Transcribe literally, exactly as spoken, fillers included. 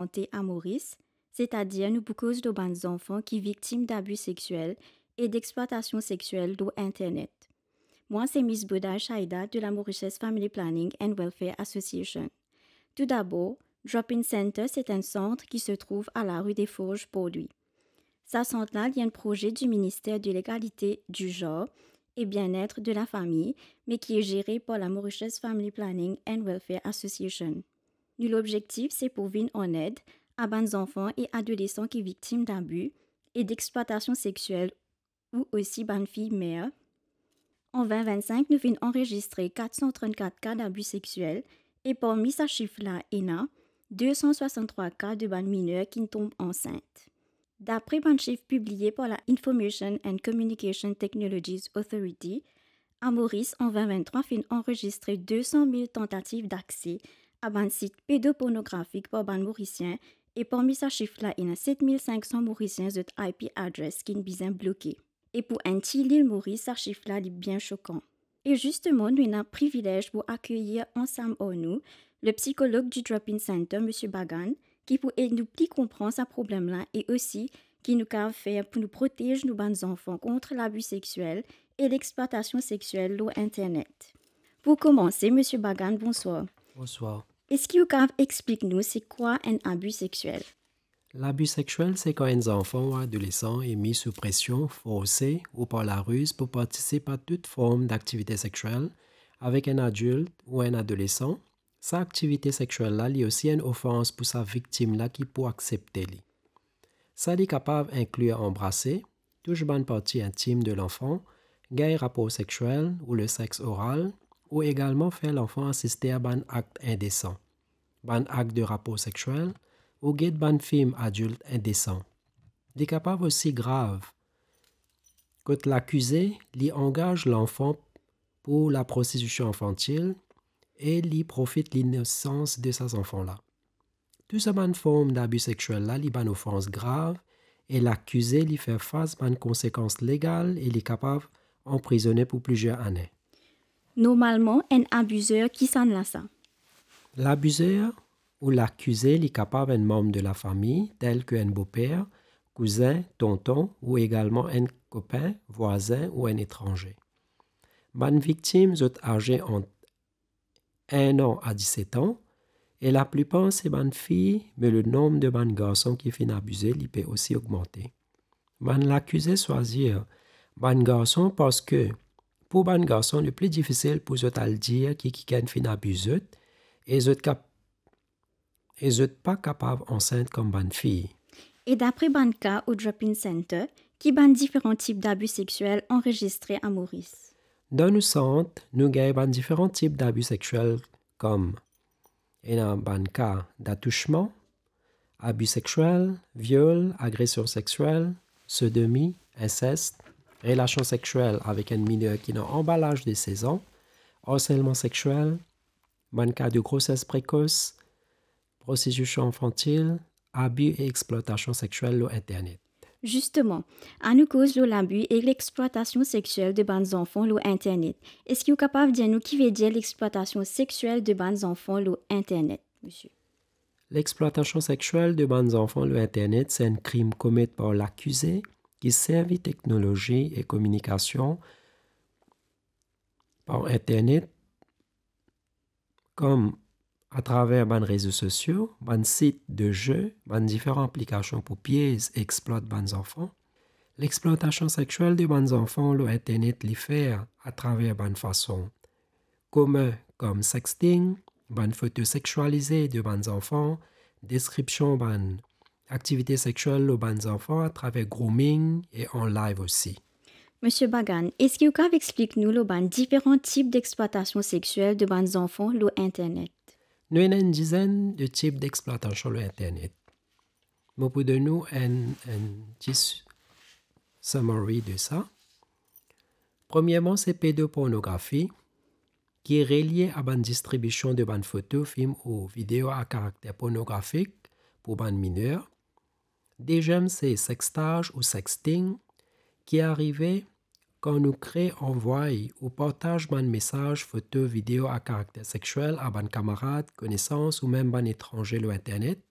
sante a Moris, setadir nou pou koz lor bann zanfan ki viktim dabi sexiel e dexplwatasion sexiel lor internet. Mwa se Miss Boday Shaida de la Mauritius Family Planning and Welfare Association. Toudabor, Drop-in Center se enn sant ki se trouv a la rue des Forges, Port-Louis. Sa sant la, li enn proze di Minister de Legalite, di Zanr e Bienetre de la Fami, me ki e zere par la Mauritius Family Planning and Welfare Association. Nou lobzektif se pou vinn an ed a bann zanfan e adolesan ki viktim dabi e dexplwatasion sexiel ou osi bann fiy mer. An vin vinn-sink, nou finn anrezistre kat san trannkat ka dabi sexiel e parmi sa sif la, ena de san swasann-trwa ka de bann miner ki'nn tonm ansint. Dapre bann sif pibliye par la Information and Communication Technologies Authority, a Moris an vin vinn-trwa finn anrezistre de san mil tantativ dakse a bann sit pedopornografik par bann Morisien, e parmi sa sif la, ena set mil sink san Morisien zot I P address ki'nn bizin bloke. E pou enn ti lil Moris, sa sif la, li bien sokan. E zisteman, nou ena privilez pou akeyir ansam ar nou le psikolog di Drop-in Center, Misie Bagan, ki pou ed nou pli konpran sa problem la e osi ki nou kav fer pou nou protez nou bann zanfan kont labi sexiel e lexplwatasion sexiel lor internet. Pou koumanse, Misie Bagan, bonswar. Bonswar. Eski ou kav explik nou se kwa enn abi sexiel? Labi sexiel se kan enn zanfan ou adolesan e mi sou presion, forse ou par lariz pou partisip a tout form daktivite sexiel avek enn adilt ou enn adolesan. Sa aktivite sexiel la, li osi enn ofans pou sa viktim la ki pou aksepte li. Sa li kapav inklir anbrase, tous bann parti intim de lanfan, gagn rapor sexiel ou le sex oral, ou egalman fer lanfan asiste a bann akt indesan, bann akt de rapor sexiel, ou get bann fim adilt indesan. Li kapav osi grav kot lakize, li angaz lanfan pou laprostitisyon infantil e li profit linosans de sa zanfan la. Tou sa bann form dabi sexiel la, li bann ofans grav e lakize li fer fas bann konsekans legal e li kapav anprizone pou plizier ane. Normalman, enn abizer, kisannla sa? Labizer ou lakize, li kapav enn manm de lafami, tel ke enn boper, kouzin, tonton, ou egalman enn kopin, vwazin ou enn etranze. Bann viktim, zot aze ant enn an a diset an, e laplipar se bann fi, me le nonb de bann garson ki finn abize, li pe osi ogmante. Bann lakize swazir bann garson parski pou bann garson, li pli difisil pou zot al dir ki kikenn finn abiz zot, e zot kap-, e zot pa kapav ansint kom bann fi. E dapre bann ka o Drop-in Center, ki bann diferan tip dabi sexiel anrezistre a Moris? Dan nou sant, nou gagn bann diferan tip dabi sexiel kom ena bann ka datousman, abi sexiel, viol, agresion sexiel, sodomi, insest, relasion sexiel avek enn miner ki ena anba laz de sez an, arselman sexiel, bann ka de groses prekos, prostitisyon infantil, abi e explwatasyon sexiel lor internet. Zisteman, anou koz lor labi e lexplwatasyon sexiel de bann zanfan lor internet. Eski ou kapav dir nou ki vedir lexplwatasyon sexiel de bann zanfan lor internet, misie? Lexplwatasyon sexiel de bann zanfan lor internet se enn krim komet par lakize ki servi teknolozi e kominikasion par internet, kom atraver bann rezo sosio, bann sit de ze, bann diferan aplikasion pou piez e explwat bann zanfan. Lexplwatasyon sexiel de bann zanfan lor internet li fer atraver bann fason komin kom sexting, bann foto sexialize de bann zanfan, deskripsion bann aktivite sexiel lor bann zanfan atraver grooming e an live osi. Misie Bagan, eski ou kav explik nou lor bann diferan tip dexplwatasyon sexiel de bann zanfan lor internet? Nou ena enn dizenn de tip dexplwatasyon lor internet. Mo pou donn ou enn, enn ti s-, summary de sa. Premierman, se pedopornografi, ki relie a bann distribision de bann foto, fim ou video a karakter pornografik pou bann miner. Deziem, se sextage ou sexting, ki arive kan nou kre, anvway ou partaz bann mesaz, foto, video a karakter sexiel a bann kamarad, konesans ou mem bann etranze lor internet.